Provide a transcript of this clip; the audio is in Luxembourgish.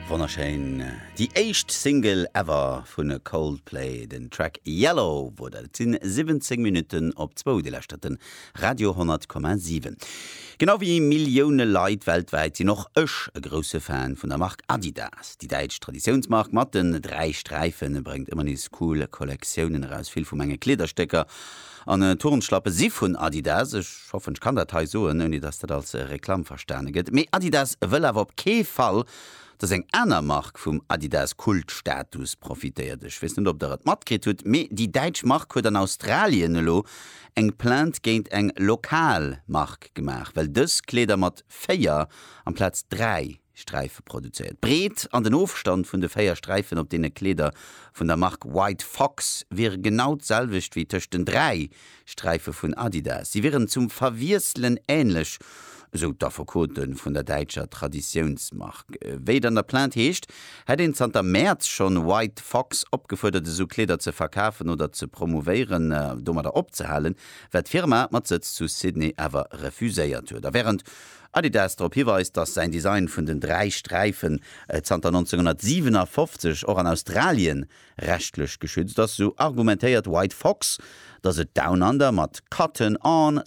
Wonnerschéin. Déi éischt Single ever vu Coldplay, den Track Yellow wor dat. Et sinn 17 Minutten op zwou, Dir lauschtert den Radio 100,7. Genau wéi Millioune Leit weltwäit sinn och ech e grousse Fan vun der Mark Adidas. Déi däitsch Traditiounsmark mat den 3 Sträife bréngt ëmmer nees cool Kollektiounen eraus. Vill vu menge Kleederstécker an Turnschlappe si vun Adidas. Ech hoffen ech kann dat hei soen, ouni dass dat als Reklamm verstane gëtt. Mee Adidas wëll awer op kee Fall, dass eng aner Mark vum Adidas Kultstatus profitéiert. Ech weess net ob der et matkritt hutt, mee déi däitsch Mark huet an Australien elo eng Plainte géint eng lokal Mark gemaach, well dës Kleeder mat 4 amplaz 3 Sträife produzéiert. D'Breet an den Ofstand vun de 4 Sträifen op deene Kleeder vun der Mark White Fox wiere genau d'selwecht wéi tëscht den 3 Sträife vun Adidas. Si wieren zum Verwiesselen änlech, esou d'Affekote vun der däitscher Traditiounsmark. Wéi et an der Plainte heescht, hätt een zanter Mäerz schonn White Fox opgefuerdert, esou Kleeder ze verkafen oder ze promouvéieren, domadder opzehalen, wat d'Firma mat Sëtz zu Sydney awer refuséiert huet. A wärend Adidas drop hiweist, datt säin Design vun den 3 Sträifen zanter 1957 och an Australien rechtlech geschützt ass, sou argumentéiert White Fox, datt et Down Under mat Cotton On!